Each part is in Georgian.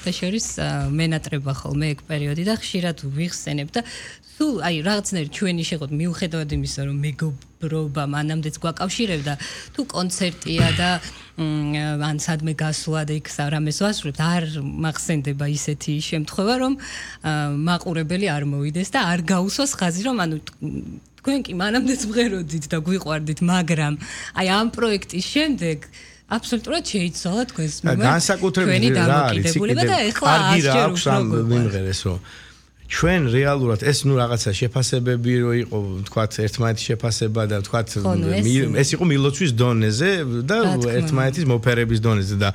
სხვათა შორის მენატრება ხოლმე ეგ პერიოდი და ხშირად ვიხსენებ და თუ აი რაღაცნაირად ჩვენი შეღოთ მიუხედავად იმისა რომ მეგობრობა მანამდეც გვაკავშირებდა თუ კონცერტია და ან სადმე გასვლა და იქ რამეს ვასრულებთ არ მახსენდება ისეთი შემთხვევა რომ მაყურებელი არ მოვიდეს და არ გაუსვას ხაზი რომ ანუ თქვენ კი მანამდეც მღეროდით და გვიყვარდით მაგრამ აი ამ პროექტის შემდეგ აბსოლუტურად შეიცვალა თქვენს განსაკუთრებით რა არის და ეხლა აღჭერს როგორ ჩვენ რეალურად ეს ნუ რაღაცა შეფასებები რო იყო თქვათ ერთმანეთის შეფასება და თქვათ ეს იყო მილოცვის დონეზე და ერთმანეთის მოფერების დონეზე და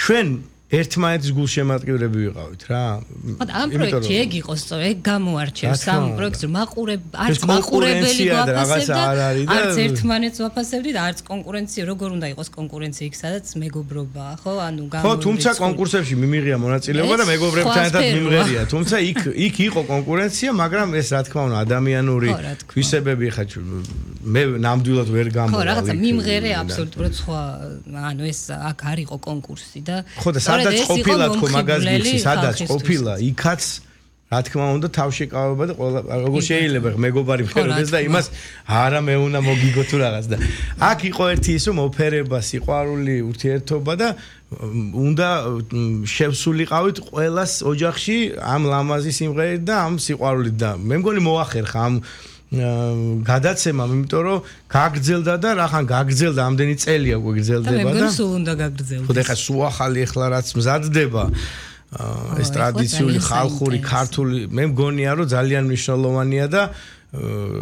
ჩვენ ერთმანეთის გულშემატკივრები ვიყავით რა. ამ პროექტში ეგ იყო სწორედ, ეგ გამოარჩევს ამ პროექტს არც მაყურებელი გვაფასებდა, არც ერთმანეთს ვაფასებდით, არც კონკურენცია, როგორ უნდა იყოს კონკურენცია იქ სადაც მეგობრობაა, ხო? ანუ ხო, თუმცა კონკურსებში მიმიღია მონაწილეობა და მეგობრებთან ერთად მიმღერია. თუმცა იქ იყო კონკურენცია, მაგრამ ეს რა თქმა უნდა ადამიანური ქვისებები ხა მე ნამდვილად ვერ გამოვალი. ხო, რაღაცა მიმღერე აბსოლუტურად სხვა, ანუ ეს აქ არ იყო კონკურსი და ხო და სადაც ყოფილა თქო მაგაზგიხი, სადაც ყოფილა, იქაც რა თქმა უნდა თავშეკავება და ყველა როგორ შეიძლება მეგობარი მღეროდეს და იმას არა მე უნდა მოგიგო თუ რაღაც და აქ იყო ერთი ის რომ ოფერება, სიყვარული, ურთიერთობა და უნდა შევსულიყავით ყველას ოჯახში ამ ლამაზი სიმღერით და ამ სიყვარულით და მე მგონი მოახერხა ამ გადაცემამ, იმიტომ რომ გაგრძელდა და რახან გაგრძელდა ამდენი წელია უკვე გრძელდება და მე მგონი სულ უნდა გაგრძელდეს. ხო და ეხლა სულ ახალი ეხლა რაც მზადდება ეს ტრადიციული ხალხური ქართული მე მგონია რომ ძალიან მნიშვნელოვანია და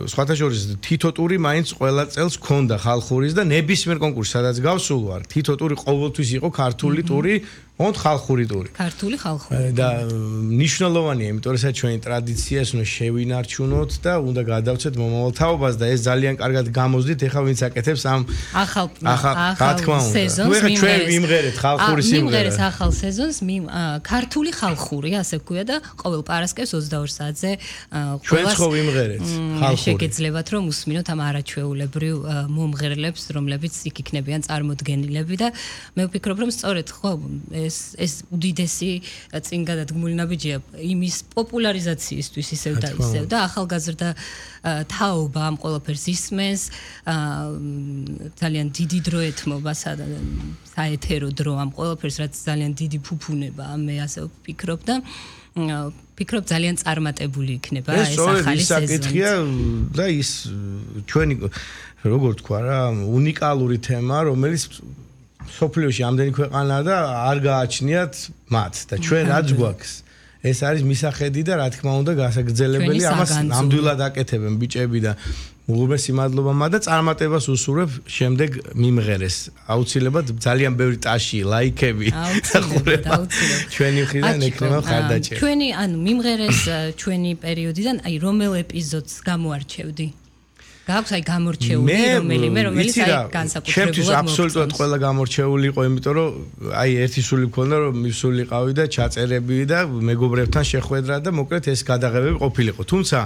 სხვათა შორის თითო ტური მაინც ყველა წელს ქონდა ხალხურის და ნებისმიერ კონკურსში სადაც გავსულ ვარ თითო ტური ყოველთვის იყო ქართული ტური ond ხალხური ტური. ქართული ხალხური. და მნიშვნელოვანია, იმიტომ რომ ეს ჩვენი ტრადიცია ის უნდა შევინარჩუნოთ და უნდა გადავცეთ მომავალ თაობას და ეს ძალიან კარგად გამოზდით, ეხლა ვინც აკეთებს ამ ახალ სეზონს. ნუ ჩვენ ვიმღერეთ ხალხური სიმღერა. მიმღერეთ ახალ სეზონს ქართული ხალხური, ასე ვქვია და ყოველ პარასკევს 22 საათზე ჩვენც ხო ვიმღერეთ ხალხური. შეგეძლებათ რომ უსმინოთ ამ არაჩვეულებრივ მომღერლებს, რომლებიც იქ იქნებიან წარმოდგენილები და მე ვფიქრობ რომ სწორედ ხო ეს უდიდესი წინ გადადგმული ნაბიჯია იმის პოპულარიზაციისთვის ისევ და ისევ და ახალგაზრდა თაობა ამ ყველაფერს ისმენს ძალიან დიდი დრო ეთმობა საეთერო დრო ამ ყველაფერს რაც ძალიან დიდი ფუფუნებაა მე ასე ვფიქრობ და ვფიქრობ ძალიან წარმატებული იქნება ეს ახალი სეზონი და ის ჩვენი როგორ თქვა რა უნიკალური თემა რომელიც სოფლიოში ამდენი ქვეყანაა და არ გააჩნიათ მათ და ჩვენ რაც გვაქვს ეს არის მისახედი და რა თქმა უნდა გასაგრძელებელი ამას ნამდვილად აკეთებენ ბიჭები და უღრმესი მადლობა მათ და წარმატებას უსურვებ შემდეგ მიმღერეს აუცილებლად ძალიან ბევრი ტაში ლაიქები აუცილებლად ჩვენი მხრიდან ექნება ხარდაჭერა ჩვენი ანუ მიმღერეს ჩვენი პერიოდიდან აი რომელ ეპიზოდს გამოარჩევდი გაქვს აი გამორჩეული რომელიც აი განსაკუთრებულად ჩემთვის აბსოლუტურად ყველა გამორჩეული იყო იმიტომ რომ აი ერთი სული მქონდა რომ მივსულიყავი და ჩაწერები და მეგობრებთან შეხვედრა და მოკლედ ეს გადაღებები ყოფილიყო თუმცა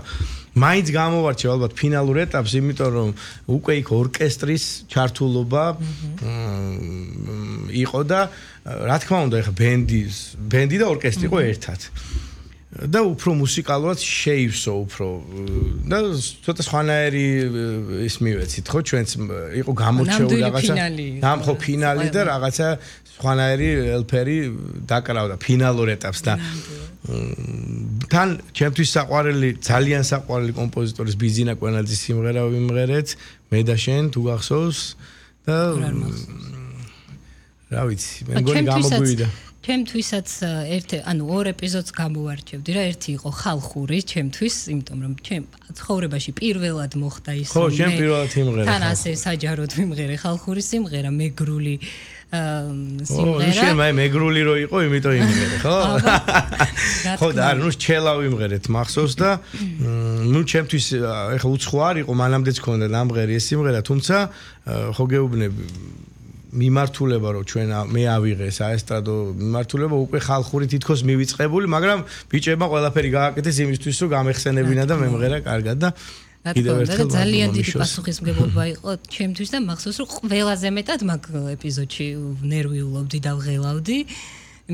მაინც გამოვარჩევ ალბათ ფინალურ ეტაპს იმიტომ რომ უკვე იქ ორკესტრის ჩართულობა იყო და რა თქმა უნდა ეხა ბენდი და ორკესტრი იყო ერთად და უფრო მუსიკალურად შეივსო უფრო და ცოტა სხვანაირი ის მივეცით ხო ჩვენც იყო გამორჩეული რაღაცა ამ ხო ფინალი და რაღაცა სხვანაირი ელფერი დაკრავდა ფინალურ ეტაპს და თან ჩემთვის საყვარელი ძალიან საყვარელი კომპოზიტორის ბიზინა კვენაძის სიმღერა ვიმღერეთ მე და შენ თუ გახსოვს და რა ვიცი მე მგონი გამოგვივიდა ჩემთვისაც ანუ ორ ეპიზოდს გამოვარჩევდი რა ერთი იყო ხალხური ჩემთვის იმიტომ რომ ჩემ ცხოვრებაში პირველად მოხდა ის ხო შენ პირველად იმღერე თან ასე საჯაროდ ვიმღერე ხალხური სიმღერა მეგრული სიმღერა შენ მეგრული რო იყო იმიტომ იმღერე ხო ხო და ნუ ჩელა ვიმღერეთ მახსოვს და ნუ ჩემთვის ეხა უცხო არ იყო მანამდეც ქონდა ნამღერი ეს სიმღერა თუმცა ხო გეუბნები მიმართულება რომ ჩვენ მე ავიღე საესტრადო მიმართულება უკვე ხალხური თითქოს მივიწყებული მაგრამ ბიჭებმა ყველაფერი გააკეთეს იმისთვის რომ გამეხსენებინა და მემღერა კარგად და კიდევ ერთხელ ძალიან დიდი პასუხისმგებლობა იყო ჩემთვის და მახსოვს რომ ყველაზე მეტად მაგ ეპიზოდში ნერვიულობდი და ვღელავდი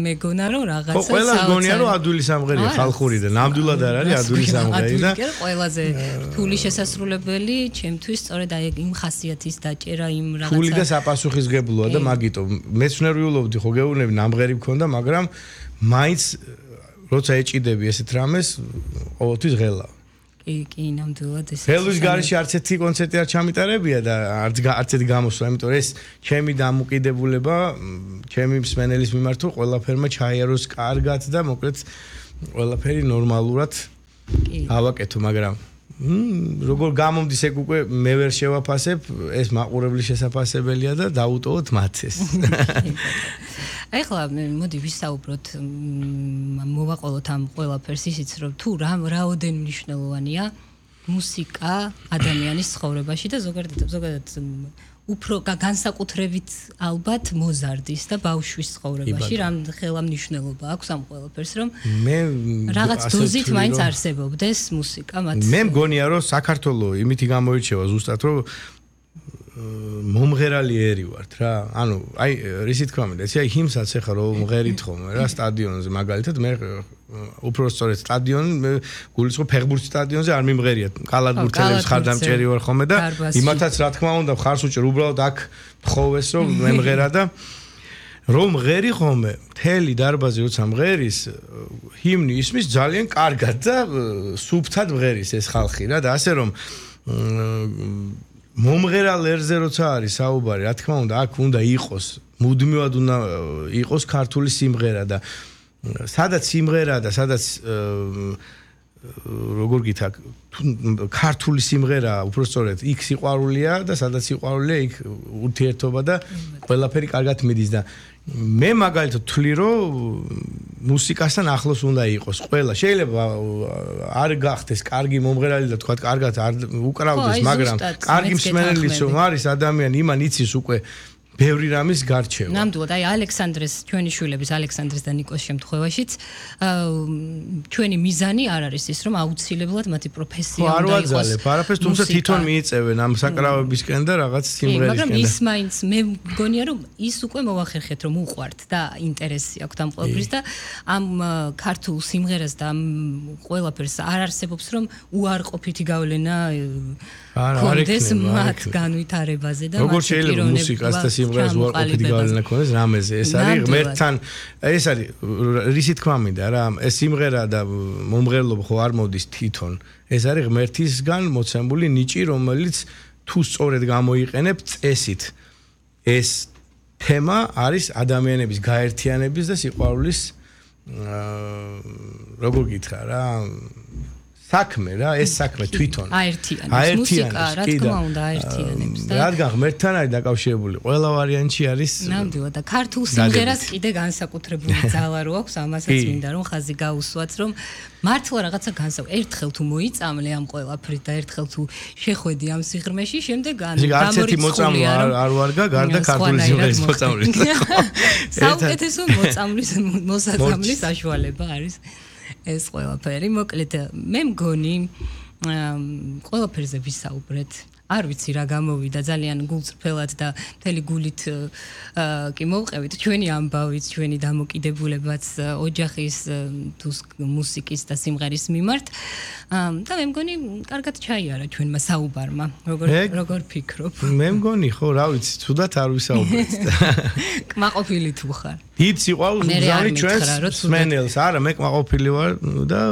მეგონა რომ რაღაცა ხო ყველა გონია რომ ადვილი სამღერია ხალხური და ნამდვილად არ არის ადვილი სამღერი და ყველაზე რთული შესასრულებელი ჩემთვის სწორედ აი იმ ხასიათის დაჭერა იმ რაღაცა რთული და საპასუხისგებლოა და მაგიტო მეც ვნერვიულობდი ხო გეუბნები ნამღერი მქონდა მაგრამ მაინც როცა ეჭიდები ესეთ რამეს ყოველთვის ღელა კი ნამდვილად ეს ხელის გარეშე არც ერთი კონცერტი არ ჩამიტარებია და არც ერთი გამოსვლა იმიტომ რომ ეს ჩემი დამოკიდებულება ჩემი მსმენელის მიმართ თუ ყველაფერმა ჩაიაროს კარგად და მოკლედ ყველაფერი ნორმალურად ავაკეთო მაგრამ როგორ გამომდის ეგ უკვე მე ვერ შევაფასებ ეს მაყურებლის შესაძლებელია და დაუტოვოთ მათ ეს ახლა მოდი ვისაუბროთ მოვაყოლოთ ამ ყველაფერს ისიც რომ თუ რაოდენ მნიშვნელოვანია მუსიკა ადამიანის ცხოვრებაში და ზოგადად უფრო განსაკუთრებით ალბათ მოზარდის და ბავშვის ცხოვრებაში რამ ხელა მნიშვნელობა აქვს ამ ყველაფერს რომ მე რაღაც დოზით მაინც არსებობდეს მუსიკა მათ მე მგონია რომ საქართველოს იმითი გამოირჩევა ზუსტად რომ მომღერალი ერი ვართ რა ანუ აი რისი თქვა მინდა ეს აი ჰიმსაც ახლა რომ მღერით ხოლმე რა სტადიონზე მაგალითად მე უფრო სწორედ სტადიონი გულისხმობ ფეხბურთის სტადიონზე არ მიმღერია კალათბურთელებს ხარდამჭერი ვარ ხოლმე და იმათაც რა თქმა უნდა ხარს უჭერ უბრალოდ აქ მხოვეს რომ მე მღერა და რომ მღერი ხოლმე მთელი დარბაზი როცა მღერის ჰიმნი ისმის ძალიან კარგად და სუფთად მღერის ეს ხალხი რა და ასე რომ მომღერალ ერზე როცა არის საუბარი, რა თქმა უნდა, აქ უნდა იყოს, მუდმივად უნდა იყოს ქართული სიმღერა და სადაც სიმღერა და სადაც როგორ გითხრა, ქართული სიმღერა უბრალოდ იქ სიყვარულია და სადაც სიყვარულია იქ ურთიერთობა და ყველაფერი კარგად მიდის და მე მაგალითად ვთვლი რომ მუსიკასთან ახლოს უნდა იყოს ყველა შეიძლება არ გახდეს კარგი მომღერალი და თქვა კარგად არ უკრავდეს მაგრამ კარგი მსმენელიც რომ არის ადამიანი იმან იცის უკვე ბევრი რამის გარჩევა. ნამდვილად, აი ალექსანდრეს ჩვენი შვილების ალექსანდრეს და ნიკოს შემთხვევაშიც ჩვენი მიზანი არ არის ის რომ აუცილებლად მათი პროფესია უნდა იყოს. არ ვაძალებ, არაფერს თუმცა თვითონ მიიწევენ ამ საკრავებისკენ და რაღაც სიმღერისკენ. მაგრამ ის მაინც მე მგონია რომ ის უკვე მოახერხეთ რომ უყვართ და ინტერესი აქვს ამ ყველაფრის და ამ ქართულ სიმღერას და ამ ყველაფერს არ არსებობს რომ უარყოფითი გავლენა კონდეს მათ განვითარებაზე და როგორ შეიძლება მუსიკას და სიმღერას უარყოფითი გავლენა ქონდეს რამეზე ეს არის ღმერთთან ეს არის რისი თქვა მინდა რა ეს სიმღერა და მომღერლობა ხო არ მოდის თვითონ ეს არის ღმერთისგან მოცემული ნიჭი რომელიც თუ სწორედ გამოიყენებ წესით ეს თემა არის ადამიანების გაერთიანების და სიყვარულის როგორ გითხრა რა საქმე რა ეს საქმე თვითონ აერთიანებს მუსიკა რა თქმა უნდა აერთიანებს და რადგან ღმერთთან არის დაკავშირებული ყველა ვარიანტი არის ნამდვილად და ქართულ სიმღერას კიდე განსაკუთრებული ძალა რო აქვს ამასაც მინდა რომ ხაზი გაუსვათ რომ მართლა რაღაცა ერთხელ თუ მოიწამლე ამ ყველაფრით და ერთხელ თუ შეხვედი ამ სიღრმეში შემდეგ გამორიცხულია არ ვარგა გარდა ქართული სიმღერის მოწამვლის საუკეთესო მოწამვლის მოსაწამვლის საშუალება არის ეს ყველაფერი მოკლედ მე მგონი ყველაფერზე ვისაუბრეთ არ ვიცი რა გამოვიდა ძალიან გულწრფელად და მთელი გულით კი მოვყევით ჩვენი ამბავით ჩვენი დამოკიდებულებაც ოჯახის თუ მუსიკის და სიმღერის მიმართ და მე მგონი კარგად ჩაიარა ჩვენმა საუბარმა როგორ ფიქრობ მე მგონი ხო რა ვიცი თუდად არ ვისაუბრეთ კმაყოფილი თუ ხარ დიდ სიყვარულს მგზავრი ჩვენს მსმენელს არა მე კმაყოფილი ვარ და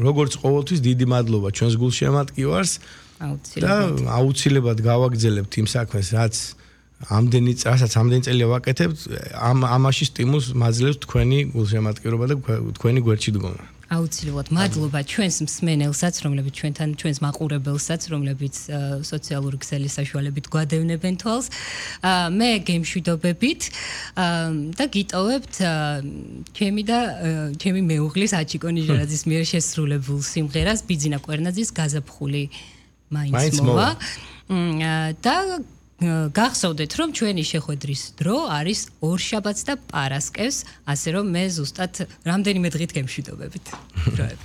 როგორც ყოველთვის დიდი მადლობა ჩვენს გულშემატკივარს აუცილებლად გავაგრძელებთ იმ საქმეს რასაც ამდენი წელია ვაკეთებთ ამაში სტიმულს მაძლევს თქვენი გულშემატკივრობა და თქვენი გვერდში დგომა აუცილებლად მადლობა ჩვენს მსმენელსაც რომლებიც ჩვენს მაყურებელსაც რომლებიც სოციალური ქსელის საშუალებით გვადევნებენ თვალს მე გემშვიდობებით და გიტოვებთ ჩემი და ჩემი მეუღლის აჩიკო ნიჟარაძის მიერ შესრულებულ სიმღერას ბიძინა კვერნაძის გაზაფხული მაინც მოვა და გახსოვდეთ რომ ჩვენი შეხვედრის დრო არის ორშაბათს და პარასკევს ასე რომ მე ზუსტად რამდენიმე დღით გემშვიდობებით დროებით